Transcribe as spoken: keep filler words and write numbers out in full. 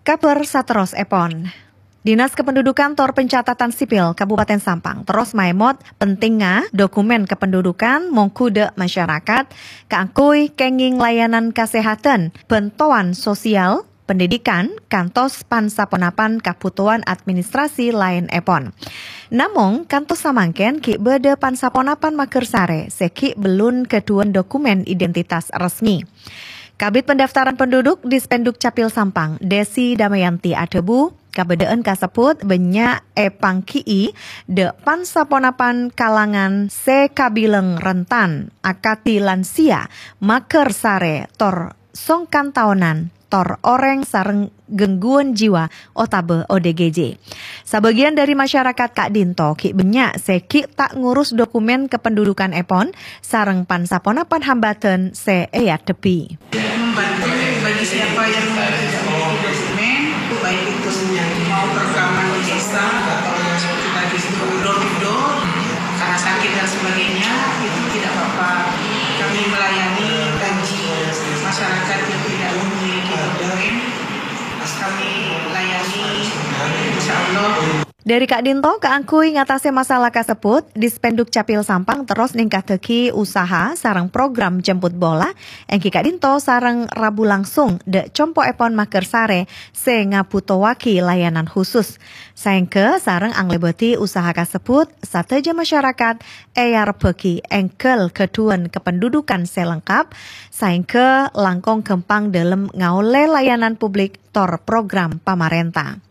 Kabhâr saterrossèpon. Dinas Kependudukan tor Pencatatan Sipil Kabupaten Sampang terros maèmot pentingnga dokumen kependudukan mongghu dâ' masyarakat kaangghuy kèngèng layanan kasèhadhân, bhântowan sosial, pendidikan, kantos pan-saponapan kabhutowan administrasi laènèpon. Namong, kantos samangkèn ghi' bâdâ pan-saponapan maghârsarè sè ghi' bellun ghâdhuwân dokumen identitas resmi. Kabid Pendaftaran Penduduk Dispenduk Capil Sampang, Desi Damayanti adhâbu, kabâdâ'ân kasebbhut bânnya' èpangghi'i dâ' pan-saponapan kalangan sè kabilang rentan, akadhi lansia, maghârsarè, tor songkan taonan, tor orèng sareng gangguan jiwa otabâ O D G J. Sabâgiyân dâri masyarakat ka'dinto ghi' bânnya' sè ghi' ta' ngurus dokumen kependudukanèpon sareng pan-saponapan hambâdhân sè èadhebbhi. Membantu bagi siapa yang tidak memiliki dokumen, baik itu mau perekaman di desa atau seperti tadi itu door to door, karena sakit dan sebagainya, itu tidak apa-apa. Kami melayani bagi masyarakat yang tidak memiliki dokumen, kami layani, insya Allah. Dâri ka'dinto kaangghuy ngatasè masalah kasebbhut, Dispenduk Capil Sampang terros nèngkaddhâghi usaha sareng program jemput bola, èngghi ka'dinto sareng rabu langsung dâ' compo'èpon maghârsarè sè ngabhutowaghi layanan khusus. Saèngghâ sareng anglèbâdhi usaha kasebbhut, sadhâjâ masyarakat èarebbhâghi èngghâl ghâdhuwân kependudukan sè lengkap, saèngghâ langkong ghâmpang dâlem ngaollè layanan publik tor program pamarènta.